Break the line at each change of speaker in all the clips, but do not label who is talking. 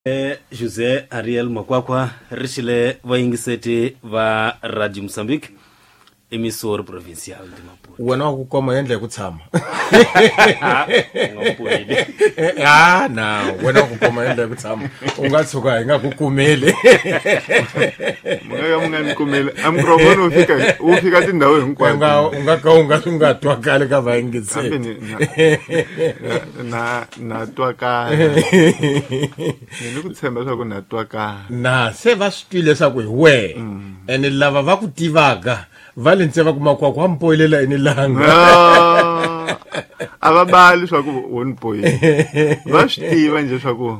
José Ariel Makwakwa ri xile vayingiseti va Radio Mozambique emissora provincial de Maputo.
Wena wa ku koma endla hi ku tshama.
U nga puheli.
Ah, na wena wa ku koma endla hi ku tshama. U nga tshuka hi nga ku kumeli.
Mi nga ka mi nga ni kumeli. A microphone wu fika wu fika tindhawu
U
hinkwato.
nga u nga ka u nga u nga twakali ka
Kambe
vayingiseti.
ni na na na twakala. Ni ni ku tshemba leswaku na twakala.
Na se va swi twile leswaku hi wehe. Ene lava va ku tivaka va le ntse va ku Makwakwa wa mpoyelela ini langa.
Ah, a va bali swa ku wo ni poyila. Va swi tiva njhe swa ku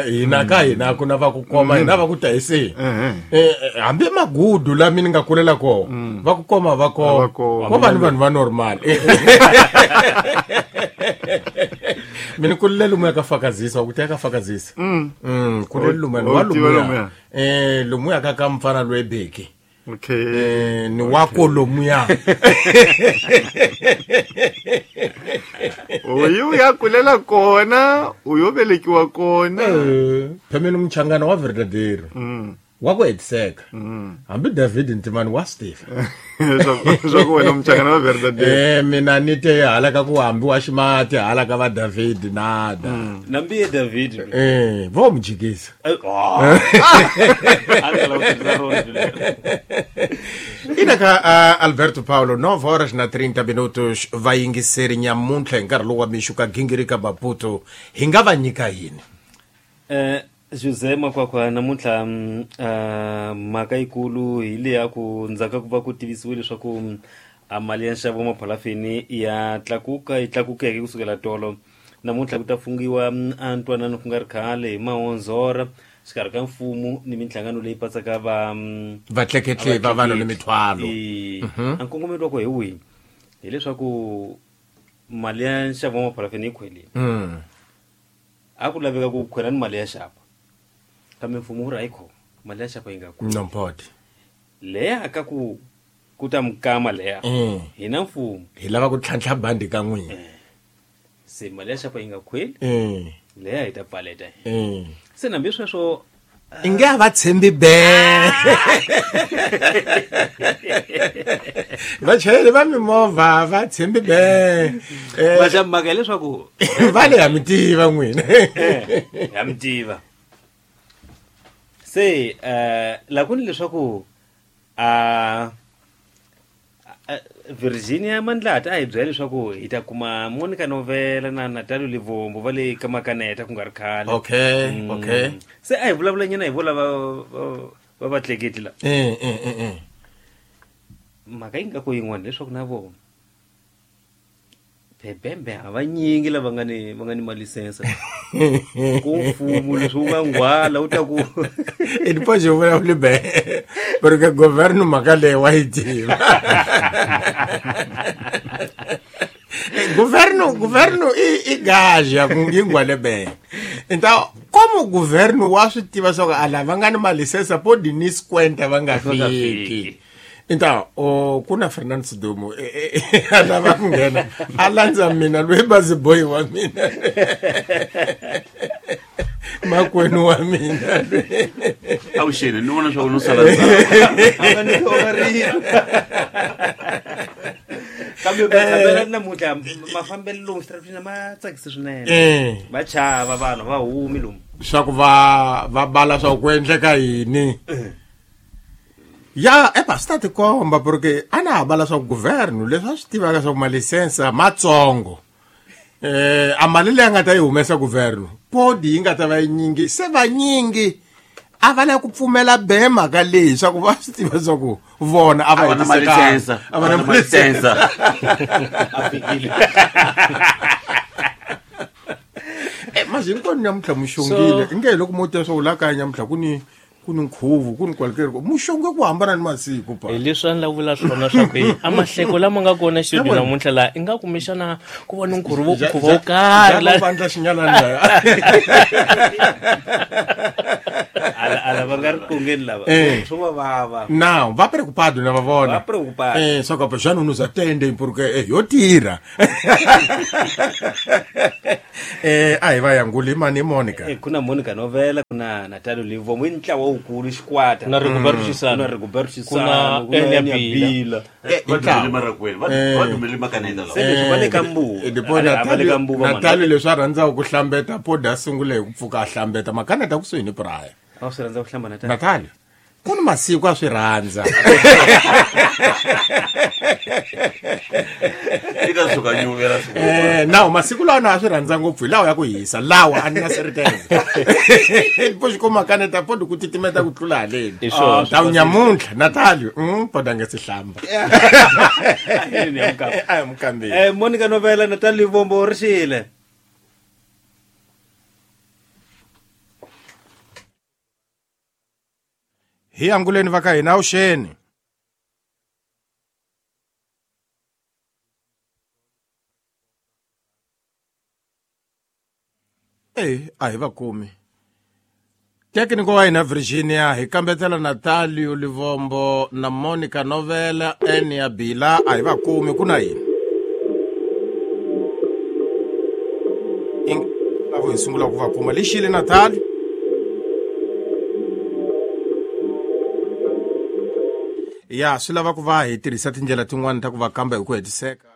Hina ka hina ku na va ku koma hina va ku ta hi se.
Ehe.
Hambi magudu lami ni nga kulela kona va ku koma va
Va
koma.
koma.
Ko va ni vanhu va normal. Mina kulele lomuya ka fakazisa wa ku teka fakazisa. Kulele lomuya ni
O
wa
tiva
lomuya.
lomuya?
Lomuya ka ka mfana loyi beki.
Okay.
Ni wa ko lomuya.
U yi u ya kulela kona, u yo velekiwa kona.
Phemeni muchangana wa verdadeiro. Wa ku hetiseka. Hambi David Ntimani wa swi tiva.
Swa ku wena muchangana wa verdadeiro.
Mina ni te hala ka ku hambi wa ximati hala ka va David nada.
Nambi ye David.
Vo mu jikisa.
Oh. A ni lava ku tirhisa rona lero.
Ina ka Alberto Paulo 9 horas na 30 minutos vayingiseri nyamuntlha hi nkarhi lowu wa mixo ka gingirika Maputo hi nga va nyika yini?
José Makwakwa namuntlha mhaka yikulu hi leya ku ndzhaku ka ku va ku tivisiwile leswaku a mali ya nxavo wa maphalafini ya tlakuka yi tlakukeke kusukela tolo. Namuntlha ku ta fungiwa a ntwanano ku nga ri khale hi mahonzora xikarhi ka mfumo ni minhlangano leyi patsaka va
Vatleketli va vanhu ni mithwalo.
A nkongomelo wa ku hi wihi? Hileswaku mali ya nxavo wa maphalafini yi khwelile. A ku laveka ku khwela ni mali ya xapa. Kambe mfumo wu ri a yi khoma mali ya xapa yi nga khweli.
Non pode.
Leya ka ku ku ta mukama leya. Hina mfumo.
Hi lava ku tlhantlha bandi ka n'wina.
Se mali ya xapa yi nga khweli. Leya hi ta pfaleta. Se nambi sweswo
Inge a va tshembi be. Vachayeri va mimovha va tshembi be.
Va xa mhaka hileswaku
Va le ha mi tiva n'wina.
Ha mi tiva. Se la ku ni leswaku a Virginia Mandlata a hi byela leswaku hi ta kuma Monica Novela na Natalio Livombo va le ka Makaneta ku nga ri khale.
Okay.
Se a hi vulavula nyana hi vo lava va vatleketli la. Mhaka yi nga ku yin'wana leswaku na vona bebembe a va nyingi lava nga ni va nga ni malisense. Ku mfumo leswi wu nga nghwala wu ta ku
E depois eu vulavuli be. Porque governo mhaka leyi wa yi tiva. Governo i gaja ku yi nghwale be. Então, como governo wa swi tiva swa ku a lava nga ni malisense pode ni 50 va nga
Va nga
fiki.
fiki.
Então, ku na Fernando Sidumo, a lava ku nghena, a landza mina loyi baziboyi wa mina. Makwenu wa mina.
Avuxeni, ni vona swa ku no sala ndzhaku.
A va nyikiwa rito. Kambe matshambela namuntlha mafambelo lomu xitaratini ma tsakisi swinene. Va chava vanhu va humi lomu.
Swa ku va bala swa ku endleka yini. Ya, epa swi ta tikomba porque a na ha bala swa ku governo leswi a swi tivaka swa ku malisensa matsongo. A mali leyi a nga ta yi humesa governo podi yi nga ta va yi nyingi se vanyingi a va lava ku pfumela be mhaka leyi swa ku va swi tiva swa ku vona a va
A va na
hetisekanga.
malisensa.
A va na
A va na malisensa.
A fikile.
Mas hinkwenu nyamuntlha muxongile.
So
Inge hi loko mo tiva swa ku laha kaya nyamuntlha ku ni ku ni nkhuvo ku ni kwalekeri muxonge ku hambana ni masiku pa.
Hi leswi a ni lava vula swona swa ku a mahleko lama nga kona studio
Yabona.
namuntlha laha i nga kumbexana ku va ni nkhuvo nkhuvo wo karhi
la vandla xinyalani la.
Ala ala va nga ri kongeni lava. Swo va vava.
Não, va preocupado na va vona.
Va preocupado.
Só que já não nos atendem porque yo tirha. A hi va yanguli mani Monica.
Ku na Monica Novela, ku na Natalio Livomo, i ntlawa wukulu xikwata.
Ku na Rigoberto Chisano.
Ku na Rigoberto
Ku na
Chisano, ku na
Enya
Enya
Bila.
Bila.
Va dumele marakwenu, va dumele makaneta
Se
lawa.
leswi va le ka mbuva.
Ndipo
A va le ka mbuva mani.
Natalio leswi a rhandzaka ku hlambeta podi a sungule hi ku pfuka a hlambeta makaneta kusuhi ni Praia.
A swi rhandza ku hlamba Natalio.
Natalio ku ni masiku a swi rhandza.
I ta suka nyuvela swi.
Nawu masiku lawa na a swi rhandza ngopfu hi lawa ya ku hisa lawa a ni na serteza. Po xi kuma kaneta podi ku titimeta ku tlula haleni.
Hi swona.
Tawu nyamuntlha Natalio podi a nga si hlamba.
Yini ya mukamba.
A hi mukambeli.
Monica Novela, Natalio Livombo ri xile.
Hi anguleni va ka hina avuxeni. A hi va kumi. Tekniko wa hina Virginia hi kambetela Natalio Livombo na Monica Novela Enya Bila a hi va kumi ku na yini. Lavo hi sungula ku va kuma lexile Natalio. Ya swi lava ku va hi tirhisa tindlela tin'wani ta ku va kamba hi ku hetiseka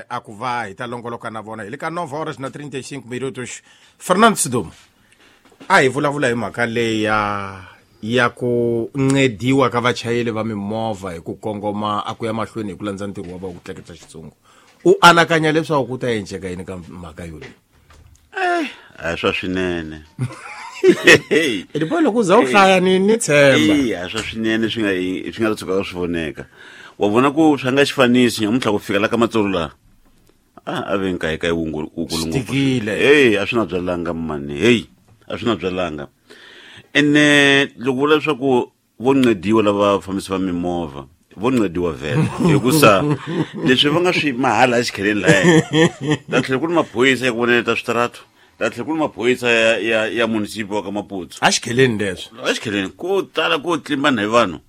a ku va hi ta longoloka na vona hi le ka 9 horas na 35 minutos. Fernando Sidumo a hi vulavula hi mhaka leyi ya ku ncediwa ka vachayeri va mimovha hi ku kongoma a ku ya mahlweni hi ku landza ntirho wa va ku tleketla xitsungu. U anakanya leswaku ku ta endleka yini ka mhaka yoleyi?
A hi swa swinene.
Ndipo loko u za u hlaya ni tshemba.
A swa swinene swi nga tshuka swi voneka. Wa vona ku swi nga xifanisi nyamuntlha ku fika la ka Matsolo laha. A ve nkaye kaye wukulu ngopfu.
Swi
a swi na byalanga mani. Hey, a swi na byalanga. Ene loko vula leswaku vo ncediwa lava fambisi va mimovha, vo ncediwa vhele hikusa leswi va nga swi mahala exikheleni lahaya. Ta tlhela ku ri maphorisa ya ku vonela ta switaratu. Ta tlhela ku ri maphorisa ya munisipi wa ka Maputo.
Exikheleni leswi.
Exikheleni ko tala ko tlimbana hi vanhu.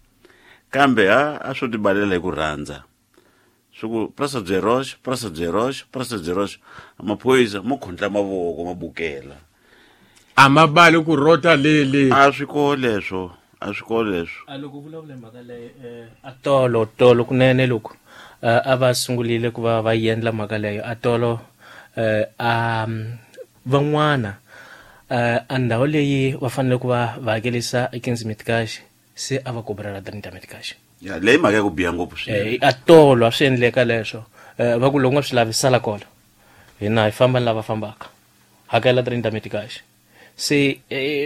Kambe a swo tibalela hi ku rhandza. Swi ku Praça de Rocha, Praça de Rocha, Praça de Rocha. Maphorisa mo khondla mavoko ma bukela.
A ma bali ku rota lele.
A swi koho leswo, a swi koho leswo.
A loko vulavula hi mhaka leyi a tolo kunene loko a va sungurile ku va va endla mhaka leyo a tolo a van'wana a ndhawu leyi va fanele ku va va hakelisa 15 meticais se a va kobrela 30 meticais.
Ya leyi mhaka ya ku biha ngopfu swinene.
A tolo a swi endleka leswo. Va ku loko nga swi lavi sala kona. Hina hi famba ni lava fambaka. Hakela 30 meticais. Se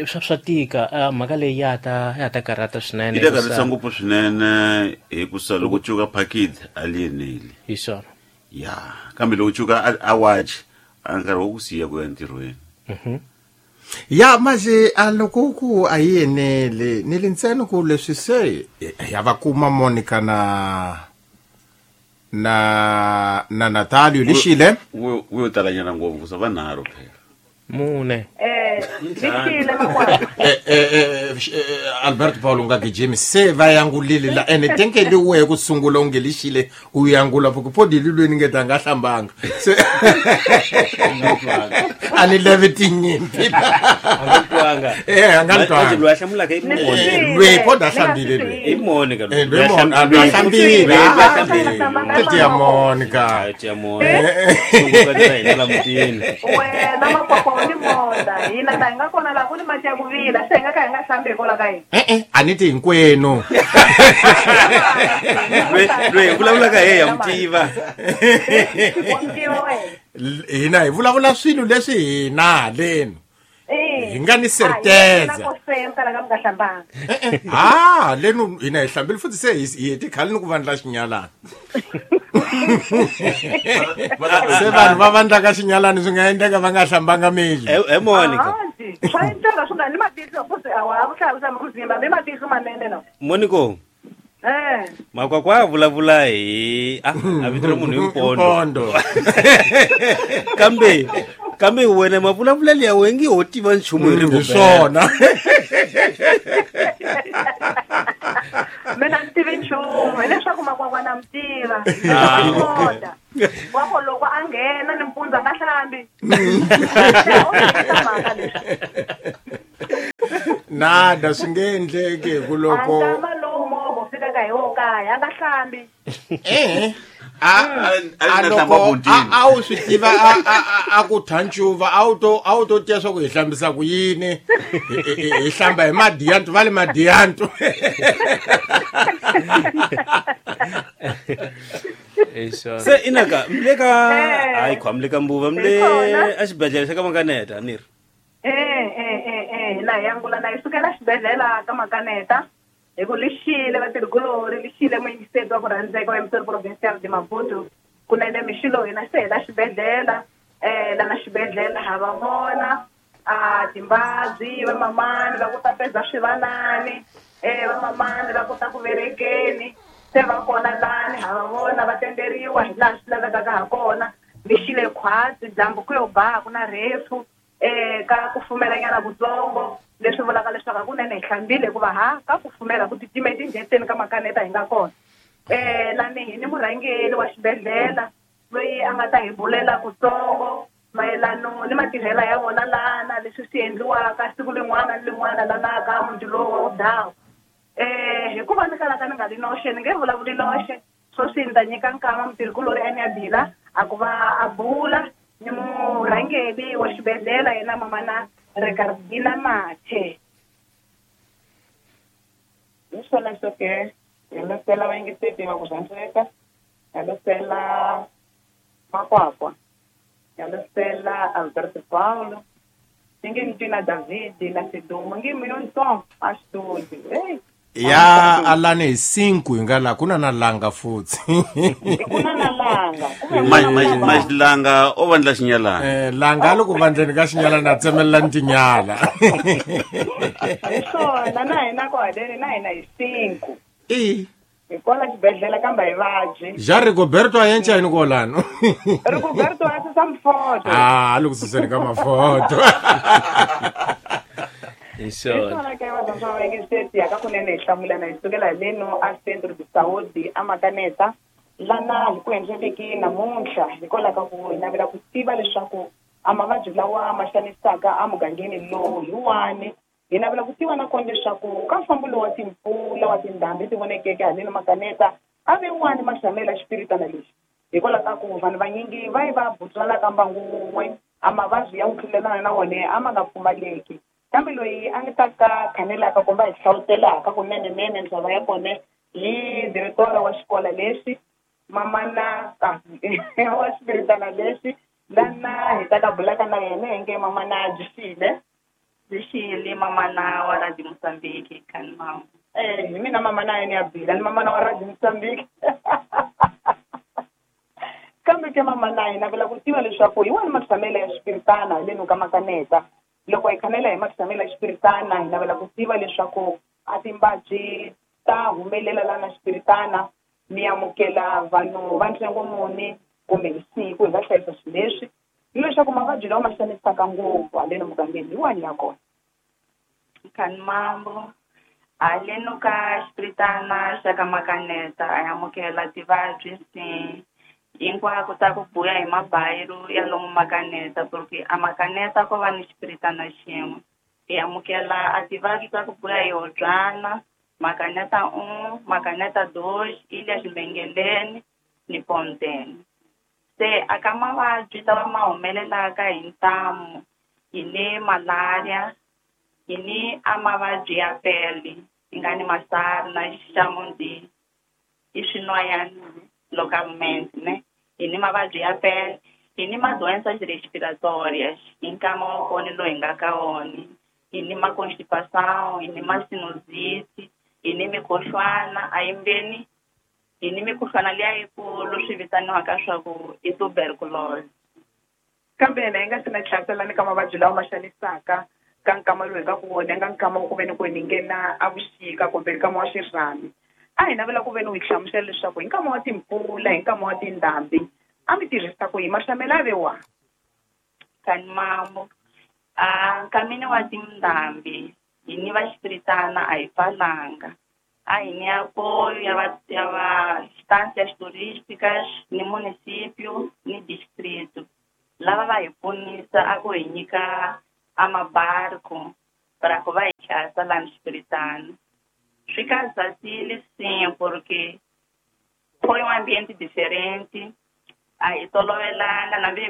swa tika mhaka leyi ya ta karhata swinene.
Yi ta karhata ngopfu swinene hikusa loko cuka package a li eneli.
Hi swona.
Ya kambe loko cuka a watch a nkarhi wa ku siya ku ya ntirhweni.
Ya manje a loko ku a yi eneli ni le ntsena ku leswi se ya va kuma Monica na Natalio lexile
wo talanyana ngopfu ku sa vanharhu phela.
Mune.
Lexile makwavo.
Alberto Paulo nga gijimi se va yangulile la ene tenke li wehe ku sungula u nge lexile u yangula ku podi lilweni nge ta nga hlambanga. Se a ni leve tinyimpi.
A nga twanga.
A nga twanga.
Loyi a hlamulaka i Monica.
Loyi podi a hlambile loyi.
I Monica.
Loyi a hlambile. Tia Monica.
Tia Monica. Sungula ta hina la mutini.
Wena makwakwa ni monda. Hina ta hi nga kona laha ku ni mati ya ku vila. Se hi nga ka hi nga hlambi hikwalaho ka yini.
A ni ti hinkwenu.
Loyi hi vulavulaka hi ya mutiva.
Wa mutiva wena.
Hina hi vulavula swilo leswi hina haleni. Hi nga ni certeza. Leno hina hi hlambile futhi se hi hete khale ni ku vandla xinyalana. Se vanhu va vandlaka xinyalani swi nga endleka va nga hlambanga miri.
Monica.
Swa endleka swi nga ni matihlo futhi a wa ku hlayisa muzimba mi matihlo manene no.
Monico. Makwakwa a vulavula hi a vito ra munhu hi Mpondo. Kambe wena mavulavulelo ya wena ngi ho tiva nchumu hi
Hi swona.
Mina ni tivi nchumu hileswaku makwakwa na mi tiva. Wa ku loko a nghena nimpundzu a nga hlangana hlambi.
Nada swi nge endleki hi ku loko
nkama lowu movha wu fikaka hi wo kaya a nga hlambi.
A loko a wu swi tiva a ku thancuva a wu to tiva swa ku hi hlambisa ku yini, hi hlamba hi madiyantu va le madiyantu.
Se inaka mle ka hayi khwa mle ka mbuva mle a xibedhlele xa ka Makaneta ni ri
na hi angula na hi sukela xibedhlele ka Makaneta hi ku lixile vatirhikulori lixile muyingiseti wa ku rhandzeka wa Msori Provincial de Maputo kunene mixilo hina se hela xibedhlele lana xibedhlele ha va vona a timbabyi vamamani va ku tapeza swivanani vamamani va kota ku verekeni se va kona lani ha va vona va tenderiwa hi laha swi lavekaka ha kona lixile khwatsi dyambu ku yo ba ku na rhefu ka kufumelanyana kutsongo leswi vulaka leswaku hakunene hi hlambile hikuva ha ka kufumela ku titima etindleteni ka Makaneta hi nga kona. Lani hi ni murhangeri wa xibedhlele loyi a nga ta hi bulela kutsongo mayelano ni matirhela ya vona lana leswi swi endliwaka siku lin'wana ni lin'wana lana ka muti lowu wa Vudawu. Hikuva ni kalaka ni nga li noxe ni nge vulavuli noxe sweswi ni ta nyika nkama mutirhikulori a ni ya bila a ku va a bula ni murhangeri wa xibedhlele yena mamana Ricardina Mathe.
Hi swona swo ke hi losela vayingiseti va ku rhandzeka, hi losela Makwakwa, hi losela Alberto Paulo, ni nge ni twi na David na Sidumo nge mi yontsongo a xitudio.
Ya alani hi 5 hi nga la ku na na langa futhi.
Ku na na langa.
Langa o vandla xinyalana.
Langa loko vandleni ka xinyalana na tsemelela tinyala.
Swona na hina ko haleni na hina hi 5. Hi kona xibedhlele kambe hi vabyi.
Ja Rigoberto a yenca yini kolano?
Rigoberto a susa mafoto.
Ah, loko suseni ka mafoto.
Hi swona
ke va swa vayingiseti ya ka kunene hi hlamulana hi sukela hi leno a Centro de Saúde a Makaneta lana hi ku endleleki namuntlha hikwalaho ka ku hi navela ku tiva leswaku a mavabyi lawa ma xanisaka emugangeni lowu hi wani. Hi navela ku tiva nakona leswaku ka mfambo lowu wa timpfula wa tindhambi ti vonekeke haleni Makaneta a ve wani maxamela xipiritana lexi hikwalaho ka ku vanhu vanyingi va yi va butswalaka mbangu wun'we a mavabyi ya ku tlulelana na wona a ma nga pfumaleki. Kambe loyi a nga ta ka khanelaka kumbe hi hlawutelaka kunenenene ndlela ya kona hi diretora wa xikolo lexi mamana wa xipiritana lexi lana hi ta ka bulaka na yena hi nge mamana Jisile.
Jisile mamana wa Radio Mozambique kani mama.
Hi mina mamana yena ya bila ni mamana wa Radio Mozambique. Kambe ke mamana hina vula ku tiva leswaku hi wani matshamelo ya xipiritana hi leno ka Makaneta. Loko hi khanela hi matshamelo ya xipiritana hi navela ku tiva leswaku a timbabyi ta humelela lana xipiritana mi amukela vanhu va ntsengo muni kumbe hi siku hi nga hlayisa swilo leswi ni leswaku mavabyi lawa ma xanisaka ngopfu haleni mugangeni hi wani ya kona.
Kani mambo haleno ka xipiritana xa ka Makaneta a amukela tivabyi hinkwako ta ku buya hi mabayiro ya lomu Makaneta porque a Makaneta ko va ni xipiritana xin'we. Hi amukela a tivabyi ta ku buya hi Hobyana, Makaneta 1, Makaneta 2, Ilha Ximbengeleni ni Ponteni. Se a ka mavabyi lawa ma humelelaka hi ntamu hi ni malaria, hi ni a mavabyi ya pele hi nga ni masari na xamundi i swinwayana localmente ne. Hi ni mavabyi ya pele, hi ni madoenças respiratórias hi nkama wa kona lowu hi nga ka wona, hi ni ma-constipação, hi ni ma-sinusite, hi ni mikhuhlwana a yimbeni, hi ni mikhuhlwana liya yikulu swi vitaniwaka swa ku i tuberculose.
Kambe yena hi nga sina hlamuselani ka mavabyi lawa ma xanisaka ka nkama lowu hi nga ku wona nga nkama wa ku ve ni ku ni nghena a vuxika kumbe nkama wa xirhami. A hi navela ku ve ni u hi hlamusela leswaku hi nkama wa timpfula hi nkama wa tindhambi a mi tirhisa ku yi maxamelo a ve wa.
Kani mambo a nkamini wa tindhambi hi ni va xipiritana a hi pfalanga a hi ni apoio ya va instâncias turísticas ni município ni distrito. lava va hi pfunisa a ku hi nyika a mabarco para ku va hi chasa lani Xipiritana. Swi kazatile sim porque foi ambiente diferente, a hi tolovelanga na mbe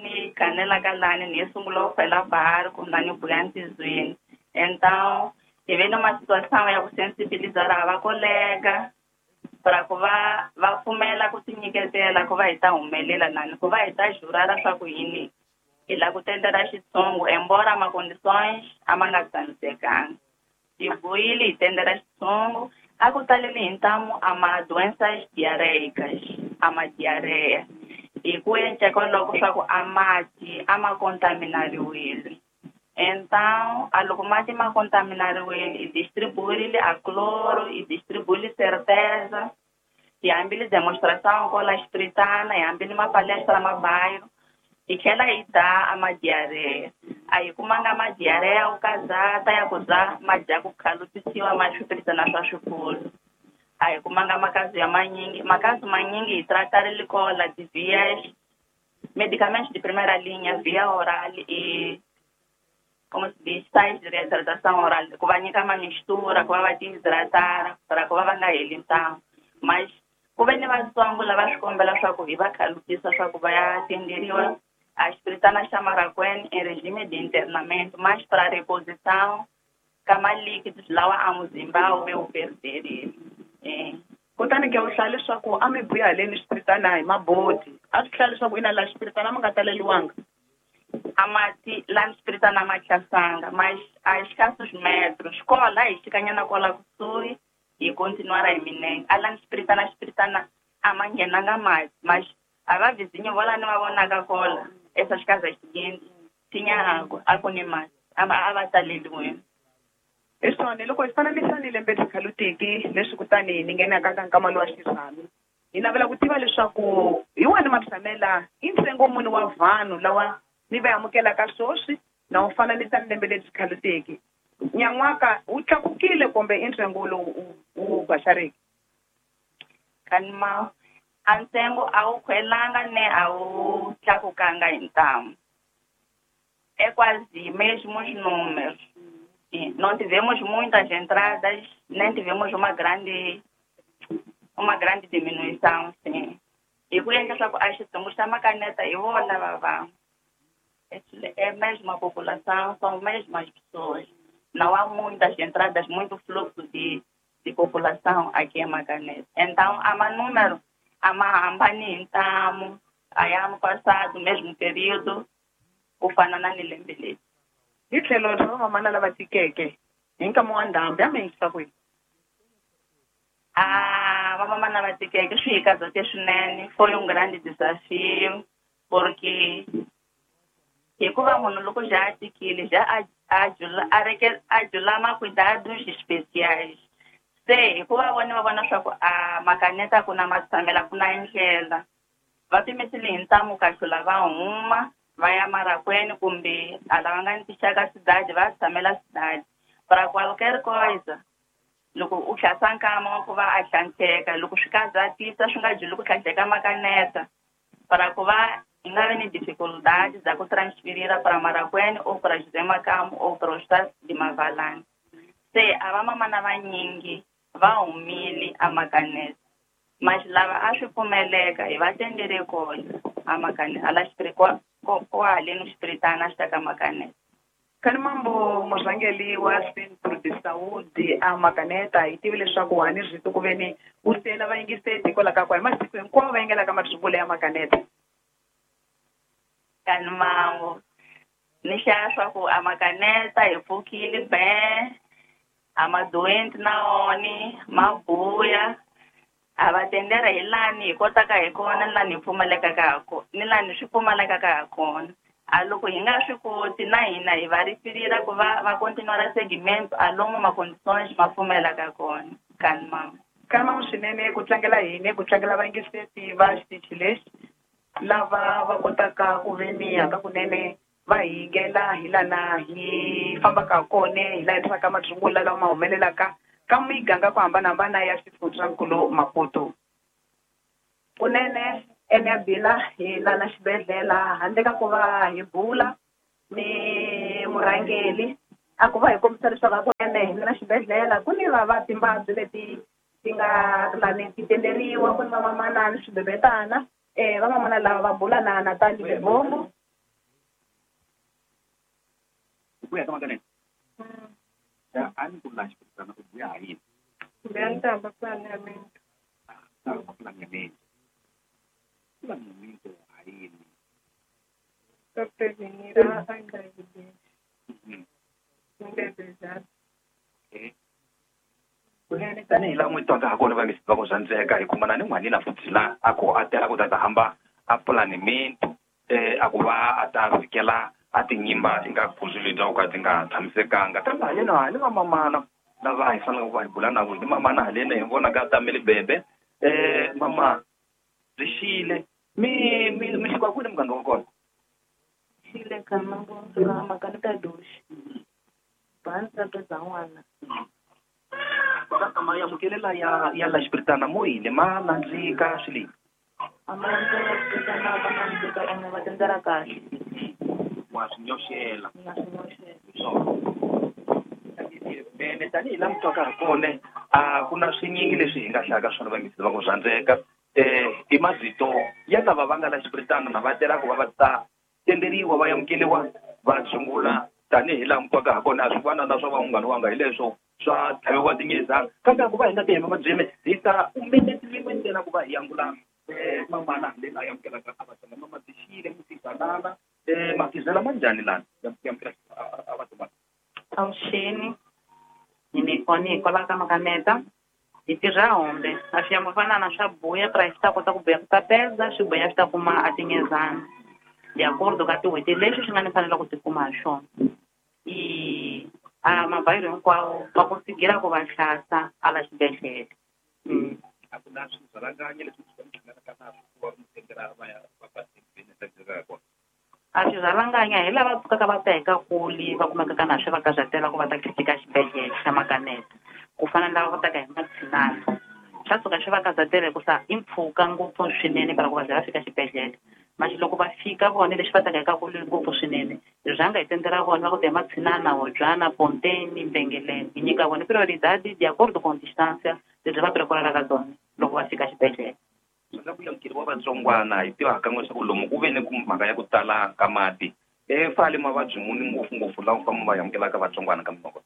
ni kanelaka lani ni sungula ku khwela barco na ni buya ntizweni. Então hi ve numa situação ya ku sensibilizar va colega para ku va va pfumela ku tinyiketela ku va hi ta humelela nani ku va hi ta jurara swa ku yini hi lava ku tendela xitsongo embora ma condições a ma nga tshamisekanga. Hi buyile hi tendela xitsongo a ku taleli hi ntamu a ma doenças diarreicas a ma diarreia hi ku endla kwaloko swa ku a mati a ma contaminariwile. Então a loko mati ma contaminariwile hi distribuirile a cloro hi distribuile certeza hi hambile demonstração kola Xipiritana hi hambile mapalestra ma bairro hi tlhela hi da a madiarreia. A hi kumanga madiarreia ku kazata ya ku za ma dya ku khalutisiwa ma swipiritana swa swikulu. A hi kumanga makazi ya manyingi makazi manyingi hi tratarile kola ti-vias medicamentos de primeira linha via oral e como se diz, sais de reidratação oral, ku va nyika ma mistura, ku va va tihidratar, para ku va va nga heli ntamu. Mas ku ve ni vatsongo lava swi kombela swa ku hi va khalutisa swa ku va ya tenderiwa a Xipiritana xa Marracuene em regime de internamento, mas para reposição ka ma líquidos lawa a muzimba wu ve wu perderile.
Kutani ke u hlaya leswaku a mi buya haleni Xipiritana hi mabodi a swi hlaya leswaku ina laha Xipiritana a mi nga taleliwanga
a mati lani Xipiritana ma chasanga mas a escassos metros kola hi xikanyana kola kusuhi hi continuar hi minenge a lani Xipiritana Xipiritana a ma nghenanga mati mas a va vizinho vo lani va vonaka kola essas casas seguintes tinha água a ku ni mati a va taleliwini.
Hi swona loko hi fananisa ni lembe tikhalutiki leswi kutani ni nghenaka ka nkama lowa xirhami hi navela ku tiva leswaku hi wani matshamela i ntsengo muni wa vanhu lawa ni va amukelaka swoswi na u fananisa ni lembe lebyi khaluteki nyan'waka wu tlakukile kumbe i ntsengo lowu wu baxariki?
Kanima a ntsengo a wu khwelanga ne a wu tlakukanga hi ntamu. É quase mesmos números. Não tivemos muitas entradas, nem tivemos uma grande diminuição, sim. E ku endla swa ku a xitsongo xa makaneta hi vona va vanhu. É a mesma população, são as mesmas pessoas. Não há muitas entradas, muito fluxo de população aqui em Macaneta. Então, há mais número, há mais ntamu, aí ano passado, mesmo período, ku fana na ni lembe leri.
Hi tlhelo ra vamamana lava tikeke hi nkama wa ndhambi a mi yingisa kwihi?
Vamamana va tikeke swi hi kazate swinene, foi grande desafio, porque hikuva munhu loko já a tikile já a jula ma cuidados especiais. Se hikuva vona va vona swa ku a makaneta ku na matshamela ku na ndlela va pimisile hi ntamu kahlula va huma va ya Marracuene kumbe a lava nga ni tixaka cidade va tshamela cidade. Para qualquer coisa loko u hlasa nkama wa ku va a hlanhleka loko swi kazatisa swi nga juli ku hlanhleka makaneta para ku va hi nga vi ni dificuldade za ku transferira para Marracuene ou para José Macamo ou para o estado de Mavalane. Se a vamamana vanyingi va humile a makaneta mas lava a swi pfumeleka hi va tendele kona a makaneta ala kwaleno Xipiritana xi ta ka makaneta.
Kani mambo murhangeri wa Centro de Saúde a Makaneta hi tivi leswaku hani rito ku veni u sela vayingiseti hikwalaho ka ku hi masiku hinkwawo va yingelaka mathungulu ya Makaneta.
Kani mango ni hlaya swa ku a Makaneta hi pfukile be a madoenti na oni ma buya a va tendera hi lani hi kotaka hi kona ni lani hi pfumalekaka ha kona ni lani swi pfumalekaka ha kona. A loko hi nga swi koti na hina hi va rifirira ku va va continuar segmento a lomu ma condições ma pfumelaka kona. Kani mama.
Kani mama swinene ku tlangela hina ku tlangela vayingiseti va xitichi lexi lava va kotaka ku veni haka kunene va hi yingela hi lana hi fambaka kona hi laha hi tisaka mathungula lawa ma humelelaka ka miganga ku hambanahambana ya xifundzankulu Maputo. Kunene
Ene hi lana xibedhlele handle ka ku va hi bula ni murhangeri a ku va hi kombisa leswaku hakunene hi na xibedhlele ku ni va timbabyi leti ti nga lani ti tenderiwa ku ni vamamana ni swibebetana vamamana lava va bula na Natali Lebombo.
Kuya kama kanene ya ani ku la xibedhlele ku buya yini
Ndiyantamba plan ya minto.
Plan ya minto. Plan ya minto ayini.
Para prevenir a gravidez. Bebezana.
Okay. Kunene tanihi laha n'wi twaka ha kona va nge va ku zwandzeka hi kumana ni n'wanina futhi la a ku a tela ku ta hamba a pulani minto a ku va a ta fikela a tinyimba ti nga phuzuli ta ku ka ti nga tshamisekanga kambe haleno ha ni vamamana lava hi faneleke ku va hi bula na vona ni mamana haleni hi vonaka tamele bebe mama byi xile mi mi mi suka kwini muganga wa kona
xile ka mambo suka makaneta doxi bandza bya n'wana
ma amukelela ya la xipiritana mo yini ma nandzika swile
a ma nandzika ma nandzika ene va tendela kahle
wa swi nyoxela
na swi nyoxela
ene tanihi laha mi twaka ha kona a ku na swinyingi leswi hi nga hlayaka swona vangisi va ku rhandzeka i mavito ya lava va nga la xipiritana na va tela ku va va ta tenderiwa va amukeriwa va tshungula tanihi laha mi twaka ha kona a swi fana na swa vanghana wanga hi leswo swa tlhaviwa tinyezana kambe ku va hi nga ti hemba mabyeme hi ta minete yin'we ntsena ku va hi angula mamana leyi a amukelaka a vatsonga mama tixile mutizanana mafizela ma njhani lana ya amukela a vatsonga
avuxeni ni kwala ka Makaneta hi tirha hombe a swi yamufana swa buya price ta kota ku buya ku tapeza swi buya swi ta kuma a tinyezana de acordo ka tin'hweti leswi swi nga ni fanela ku tikuma ha swona i a mabayiro hinkwawo va konsigira ku va hlasa a la xibedhlele.
A ku na swirhalanganyi leswi swi hlanganaka na swo ku va mi tendela va ya va va kona
a swirhalanganya hi lava pfukaka va ta hi ka kuli va kumekaka na swi va karhatela ku va ta fika xibedhlele xa Makaneta ku fana na lava va taka hi matshinana swa suka swi va karhatela hikusa i mpfhuka ngopfu swinene para ku va za va fika xibedhlele manje loko va fika vona leswi va taka hi ka kuli ngopfu swinene hi rhanga hi tendela vona va ku ta hi matshinana Hobyana Ponteni Mbengeleni hi nyika vona prioridade de acordo com distância lebyi va preparaka tona loko va fika xibedhlele.
Swi ku amukeriwa vatsongwana hi tiva kan'we leswaku lomu ku ve ni ku mhaka ya ku tala ka mati fale mavabyi muni ngopfungopfu lawa famba va amukelaka vatsongwana ka minoko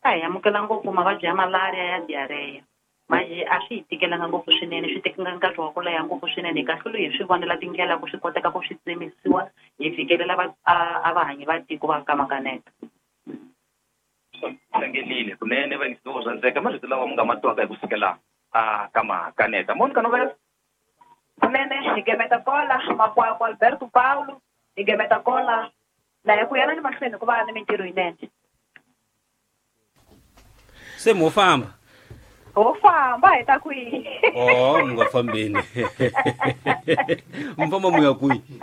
a hi amukela ngopfu mavabyi ya malaria ya diarrhea manje a swi hi tikelanga ngopfu swinene swi tekanga nkarhi wa ku leha ngopfu swinene hi kahlula hi swi vonela tindlela ku swi koteka ku swi tsemisiwa hi fikelela a vahanyi va tiko va ka Makaneta.
Tlangelile kunene va ngi swo rhandzeka marito lawa mi nga ma twaka hi ku sukela a ka Makaneta Monica Novela
kunene hi gemeta kola Makwakwa Alberto Paulo hi gemeta kola la hi ku yana ni mahlweni ku va ni mintirho yinene
se mo famba
ho famba hi ta kwihi
oh mi nga fambeni mi famba mu ya kwihi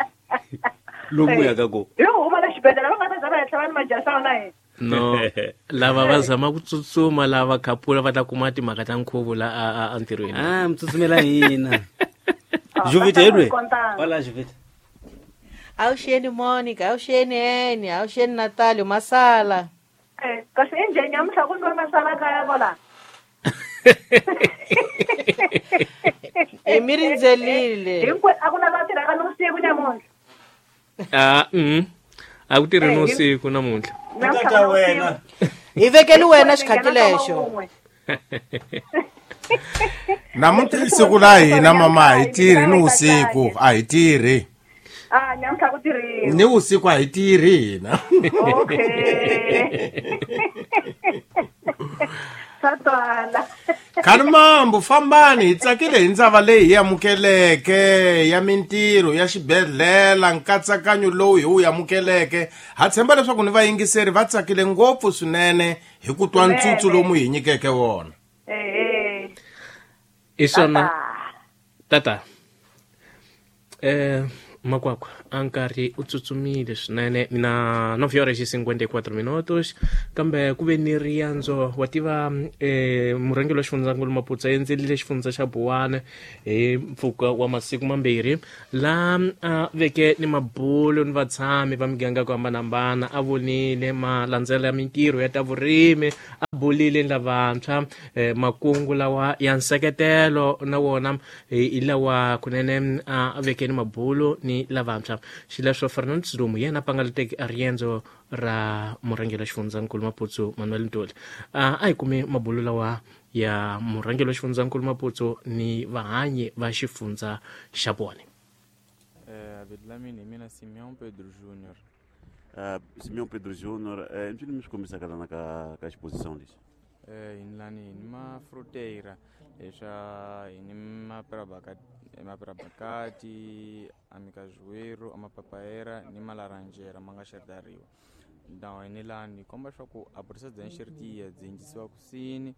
lomu ya ka ko
hi huma la xibedhlele va nga ta za va henhla va ni majasa wona hina
no lava va zama ku tsutsuma lava khapula va ta kuma timhaka ta nkhuvo la a ntirhweni
a mi tsutsumela hina Jovita edwe wala Jovita
Awuxeni Monica awuxeni Eni awuxeni Natalio masala
kasi enjheni namuntlha ku nwa masala kaya kwala
e mi rindzelile
hinkwe a ku na va tirhaka nivusiku namuntlha
a ku tirhi nivusiku namuntlha
tata wena
hi vekeli wena xikhati lexo
namuntlha i siku la hina mama a hi tirhi ni vusiku a hi tirhi
namuntlha ku tirhiwa
ni vusiku a hi tirhi hina
okay swa twala
Khani mambo fambani hi tsakile hi ndzava leyi hi amukeleke ya mintirho ya xibedhlele nkatsakanyo lowu hi wu amukeleke ha tshemba leswaku ni vayingiseri va tsakile ngopfu swinene hi ku twa ntsutsu lomu hi nyikeke wona
i swona tata Makwakwa a nkarhi u tsutsumile swinene na 9 horas e 54 minutos, kambe ku ve ni riendzo. Wa tiva, murhangeri wa xifundzankulu Maputsa endzelile xifundza xa Buwana hi mpfhuka wa masiku mambirhi, laha a veke ni mabulo ni vatshami va miganga ku hambanahambana. A vonile malandzelo ya mintirho ya ta vurimi, a bulile ni lavantshwa, makungu lawa ya nseketelo na wona hi lawa kunene a veke ni mabulo ni lavantshwa. Xileswo Fernando Silumu yena a pangalateke a riendzo ra murhangeri wa xifundzankulu Maputsu Manuel Ntuli. A hi kumi mabulo lawa ya murhangeri wa xifundzankulu Maputsu ni vahanyi va xifundza xa vona.
Vito la mina hi mina Simeon Pedro Junior.
Simeon Pedro Junior, mpfini mi swi kombisaka lana ka xiposition lexi?
Hi ni lani hi ni mafruteira leswa hi ni maperabakati, amikazuero, amapapaera ni malaranjera ma nga xerdariwa. Now hi ni lani hi komba swa ku a process bya nxeritiya byi endlisiwa kusini,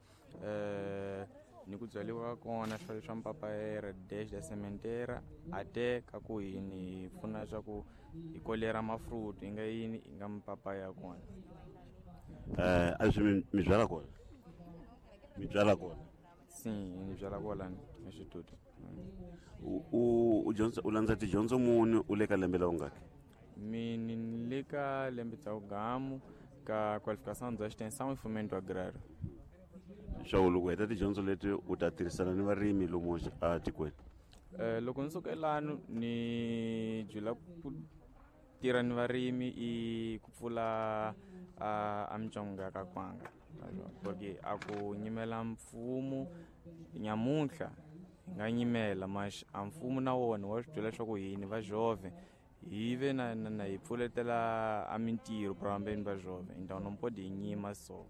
ni ku byariwa ka kona swa mpapaera dash da sementera ate ka ku yini hi pfuna swa ku hi kolera mafruit hi nga yini hi nga mapapaya ya kona.
A swi mi byala kona? Mi byala kona?
Si, ni byala kona institute.
U dyondza, u landza tidyondzo muni, u le ka lembe la ungaki?
Mina ni le ka lembe dza ugamu ka qualificação dza extensão e fomento agrário.
Swa loko u heta tidyondzo leti u ta tirhisana ni varimi lomu etikweni?
Loko ni suka elano ni byela ku tirha ni varimi i ku pfula a mitsongo ya ka kwanga, porque a ku nyimela mfumo nyamuntlha hi nga nyimela mas a mfumo na wona wa swi byela leswaku hini va jove hi ve na hi pfuletela a mintirho prambeni va jove, então não pode hi nyima so.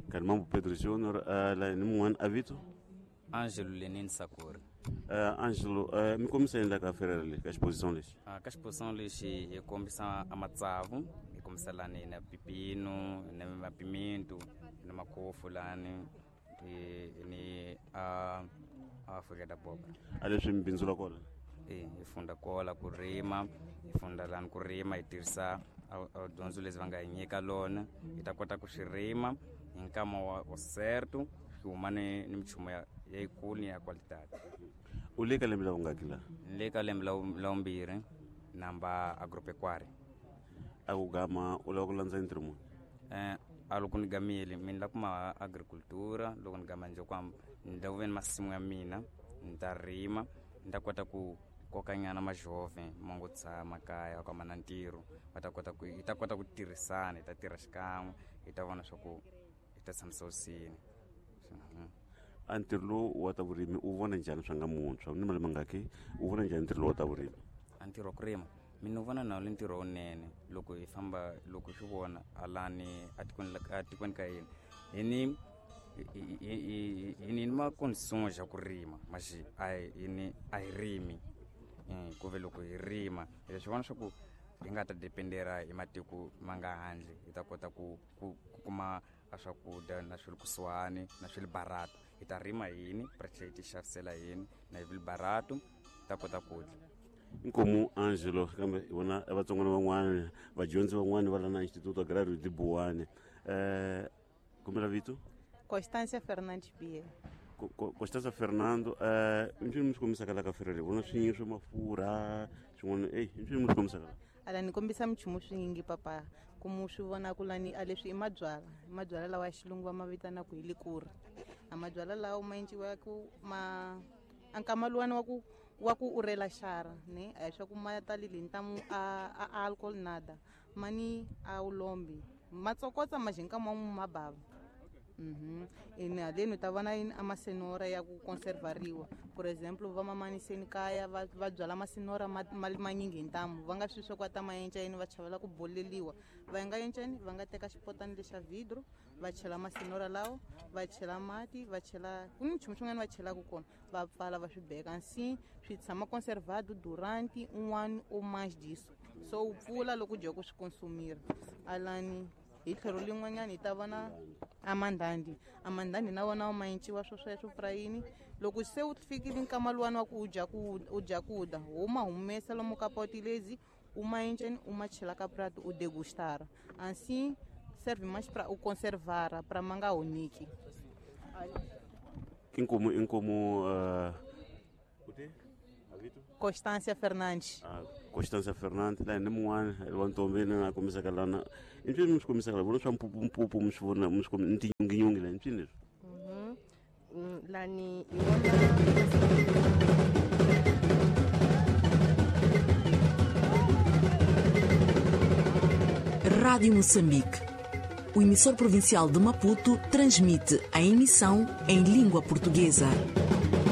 Kalimambo Pedro Junior, la ni mun'wana a vito?
Angelo Lenin Sakuri.
Angelo, mi kombisa yini la ka ferere leyi, ka xiposition lexi?
Ka xiposition lexi hi kombisa a matsavu, hi kombisa lani na pipino, na mapimento, na makofu lani, ni a Afrika da boba.
A leswi mi bindzula kona?
Hi funda kola ku rima, hi funda lani ku rima, hi tirhisa a dyondzo lezi va nga hi nyika lona, hi ta kota ku swi rima hi nkama wa certo, swi huma ni minchumu ya yikulu ni ya qualidade.
U le ka lembe la vungaki la?
Ni le ka lembe la vumbirhi, namba agropecuary.
A ku gama u lava ku landza ntirho muni?
A loko ni gamile mina la kuma agricultura, loko ni gama njhe kwam ni ta ku ve ni masimu ya mina, ni ta rima, ni ta kota ku kokanyana majove ma ngo tshama kaya ka mana ntirho, va ta kota ku hi ta kota ku tirhisana, hi ta tirha xikan'we, hi ta vona swa ku hi ta tshamisa usini.
A ntirho lowu wa ta vurimi u vona njhani swa nga muntshwa ni mali mangaki, u vona njhani ntirho lowu wa ta vurimi?
A ntirho wa ku rima mina u vona na wu ntirho wunene loko hi famba, loko hi swi vona alani atikweni ka hina hi ni hi ni ma condições ya ku rima, mas a hi ni a hi rimi. Ku ve loko hi rima hi swi vona swa ku hi nga ta dependera hi matiko ma nga handle, hi ta kota ku kuma a swakudya na swi le kusuhani na swi le barato. Hi ta rima yini pra tlhela hi ti xavisela yini na hi barato, hi ta kota ku dya.
Inkomu Angelo, kambe hi vona vatsongwana van'wana, vadyondzi van'wana va la na Instituto Agrario de Buwane. Kombela vito?
Constância Fernandes Bia.
Constância Fernando, mpfini mi swi kombisaka la ka ferere, vona swinyingi swa mafurha, swin'wana, mpfini mi swi kombisaka la?
Ala ni kombisa minchumu swinyingi papa, ku mu swi vona ku lani a leswi i mabyalwa, i mabyalwa lawa ya xilungu va ma vitanaka hi likuri. A mabyalwa lawa ma endliwa ku ma a nkama luwani wa ku urela xara, ne? A hi swa ku ma talile hi ntamu a alcohol nada, ma ni a wu lombi, ma tsokotsa ma xi nkama wun'we ma bava. Ene haleni u ta vona yini a masenora ya ku conservariwa. For example, va mamaniseni kaya va byala masenora manyingi hi ntamu, va nga swi swa ku va ta ma enca yini, va chavela ku boleliwa. Va nga enca yini, va nga teka xipotani lexa vidro, va chela masenora lawa, va chela mati, va chela ku ni nchumu xin'wana va chelaka kona, va pfala va swi beka nsi, swi tshama conservado durante un ano ou mais disso. So u pfula loko u dya ku swi consumir. Alani Hi tlhelo lin'wanyana hi ta vona amandhandi. Amandhandi na wona ma enciwa swo sweswo prayini. Loko se wu fikile nkama luwani wa ku u dya ku u dya ku dya, wo ma humesa lomu ka poti lezi, u ma enceni u ma chela ka prato u degustara. Assim serve mais para o conservar, para ma nga onhiki.
Inkomu inkomu
Constância Fernandes.
Constância Fernandes laha ni mun'wana wa ntombi ni a kombisaka lana i mpyini mi swi kombisaka la vona swa mpupumpupu mi swi vona mi swi ni tinyunginyungi la i mpyini leswi.
Lani hi vona
Rádio Moçambique. O emissor provincial de Maputo transmite a emissão em língua portuguesa.